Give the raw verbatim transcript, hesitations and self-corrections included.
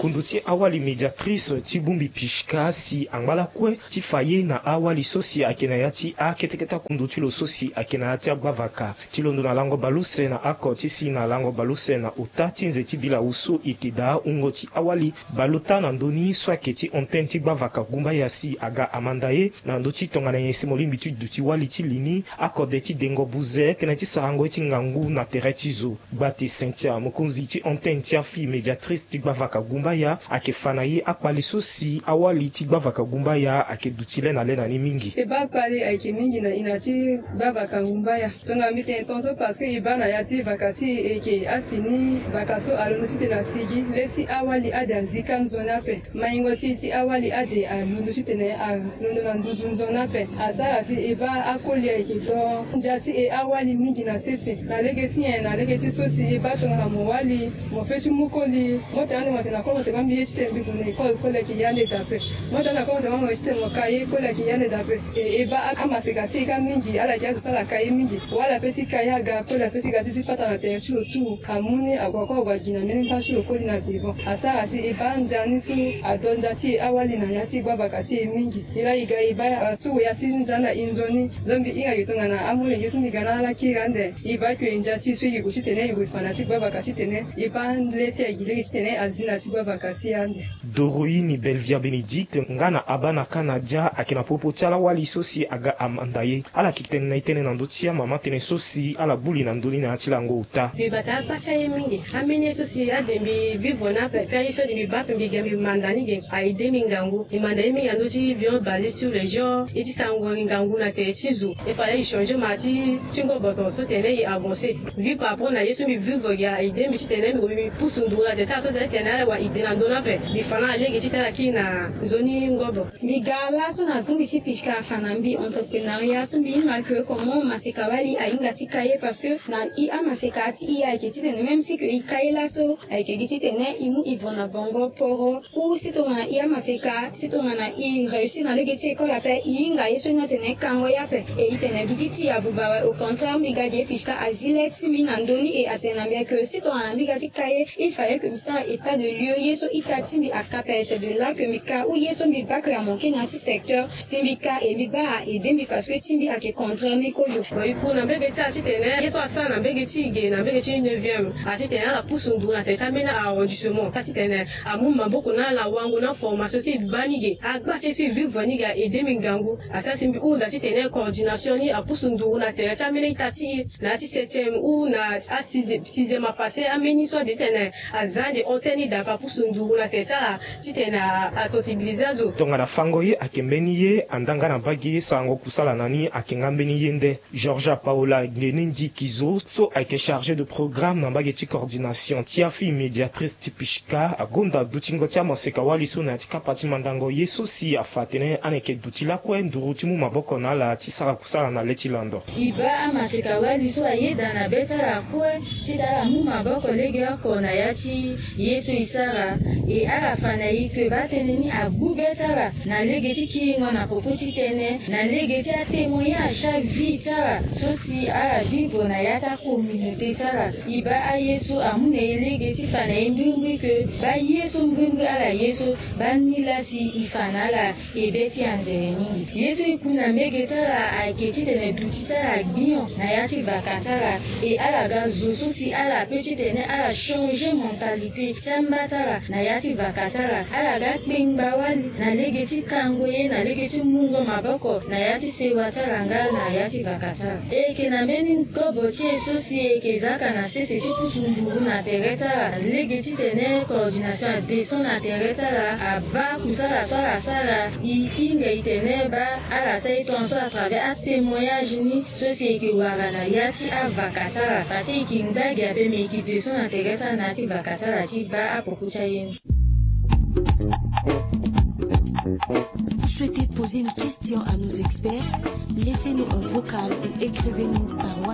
Kundu ti awali médiatrice ti bongbi Pishka si angba lakue ti fa ye na awali so si ayeke na ya ti akete kete akundu ti lo so si ayeke na ya ti agbavaka. Ti londo na lango baleuse na oko ti si na lango baleuse na ota ti nze ti bila wu so e yeke daa wungo ti awali baleota na ndö ni so ayeke ti antenne ti gbavaka Gumbaya si aga amanda ye na ndö ti tongana nyen si mo lingbi ti duti wali ti li ni akode ti dengo buze tënë ti sarango ye ti ngangu na tere ti zo. Gbate Cynthia, mokonzi ti antenne ti afille médiatrice ti gbavaka Gumbaya, ayeke fa na ye akpali so si awali ti gbavaka Gumbaya ayeke duti le na le na ni mingi. E baa kpali ayeke mingi na e na ya ti gbavaka Gumbaya. Tongana mbi tene tongaso parce que e baa na ya ti vaka ti e, e yeke afini vaka so alondo titene asigi le ti awali ade azika nzoni ape. Maingo ti e ti awali ade alondo titene alondo na nduzu nzoni ape. Asara si e baa akoli ayeke do ndia ti e awali mingi na sese. Na lege ti nyen? Na lege ti so si e baa tongana mo wali, mo pe ti mu koli, mo tene ande mo tene na koli, mo tene baa mbi ye titene mbi gue na école, koli ayeke ye ande daa ape. Mo tene na koli, mo tene baa mo ye titene mo ka ye, koli ayeke ye ande daa ape. E, e baa amaseka ti e kâ mingi, ala yeke azo so ala ka ye mingi. Wala pe ti ka ye aga, koli ape ti ga ti zi patara na tere ti lo tout. Amu ni ague kue ague agi na mbeni mba ti lo koli na devant. Asara si e baa ndia ni so ado ndia ti e awali na ya ti gbavaka ti e mingi. E laa e ga e baa, ah, so ya ti ndia ni na e nzoni. Donc mbi hinga ge tongana amolenge so mbi ga na ala kiri ande. E baa que ndia ti e so e yeke gue titene e gue fa na ya ti gbavaka titene e baa le ti e agi lege titene azi na ya ti gbavaka ti e ande. Doroine Belvia Bénédicte nga na Abanaka Nadia ayeke na popo ti ala wali so si aga amanda ye. Ala yeke tene na e tënë na ndö ti amama tënë so si ala gbu li na ndö ni na ya ti lango ota. Mbi bata akpa ti aye mingi. Ambeni ye so si ade mbi vivre ni ape, pe aye so ade mbi baa ape mbi ga mbi manda ni ge, a aidé mbi ngangu. Mbi manda ye mingi na ndö ti viande balai sur le jour, ye ti sarango ngangu na tere ti zo. Il fallait e changer ma ti, ti ngobo tongaso titene e avancer. Vu par rapport na ye so mbi vivre ge, a aidé mbi titene mbi gue mbi pusu nduru na tere ti ala so titene ala wara idée na ndö ni ape. Mbi fa na ala lege titene ala kiri na nzoni ngobo. Mbi ga laso na bongbi ti Pishka afa na mbi entrepreneuriat so mbi hinga que comment maseka wali ahinga ti ka ye parce que na e amaseka ti e ayeke titene même si que e ka ye laso ayeke gi titene e mu e vo na bango poro. Ou si tongana e amaseka, si tongana e réussir na lege ti école ape, e hinga ye so ni atene e kango ye ape. E e tene mbi gi ti e abuba awe, au contraire mbi ga ge Pishka azi le ti mbi na ndö ni e atene na mbi que si tongana mbi ga ti ka ye, il fallait que mbi sara état de lieu, ye so ita ti mbi aka ape, c'est de là que mbi ka, ou ye so mbi baa que amanke na ya ti secteur, si mbi ka e mbi baa a aidé mbi parce que ti mbi ayeke contraire ni kozo. Bon, e ku na mbege ti ala titene ye so asara na mbege ti e ge na mbege ti neuvième, a titene ala pusu nduru na tere ti ambeni arrondissement, a titene amu maboko na ala wango na formation so e baa ni ge, agba ti e so e vivre ni ge a aidé mbi ngangu. Asara si mbi hunda titene coordination ni apusu nduru na tere ti ambeni ita ti e na ya ti septième ou na a sixième, sixième apassé, ambeni so ade titene aza ande antenne ni daa ape apusu nduru na tere ti ala titene a, a sensibiliser azo. Tongana fango ye ayeke mbeni ye, anda nga na mbage ye sarango kusala na ni ayeke nga mbeni ye nde. Georgia Paola Ngenendi Kizo so ayeke chargé de programme na mbage ti coordination ti afille médiatrice ti Pishka agonda dutingo ti amaseka wali so na ya ti kapa ti mandango ye so si afa atene ala yeke duti lakue nduru ti mu maboko na ala ti sara kusala na le ti lando. E baa amaseka wali so ayeda na be ti ala kue titene ala mu maboko legeoko na ya ti ye so e sara. E ala fa na e que baa tënë ni agbu be ti ala na lege ti kiringo na poko ti tënë, na lege ti atémoignage ti avie ti ala so si ala vivre na ya ti acommunauté ti ala. E baa aye so amu na e lege ti fa na e mbrimbri que baa ye so mbrimbri ala ye so, baa ni laa si e fa na ala e be ti anzere mingi. Ye so e ku na mbege ti ala ayeke titene duti ti ala gbion na ya ti vaka ti ala. E ala ga zo so si ala peut titene ala changer mentalité ti amba ti ala na ya ti vaka ti ala. Ala ga kpengba wali na lege ti kango ye, na lege ti mungo maboko na ya ti sewa ti ala nga na ya ti vaka ti ala. E yeke na mbeni kobo ti e so si e yeke zaka na sese ti pusu nduru na tere ti ala, lege titene coordination adescend na tere ti ala, abaa kusala so ala sara. E hinga e tene baa ala sara e tongaso à travers atémoignage ni so si e yeke wara na ya ti avaka ti ala, parce que e yeke ngba gi ape, mais e yeke descend na tere ti ala na ya ti vaka ti ala ti baa apoko ti aye ni. Vous souhaitez poser une question à nos experts? Laissez-nous un vocal ou écrivez-nous par WhatsApp.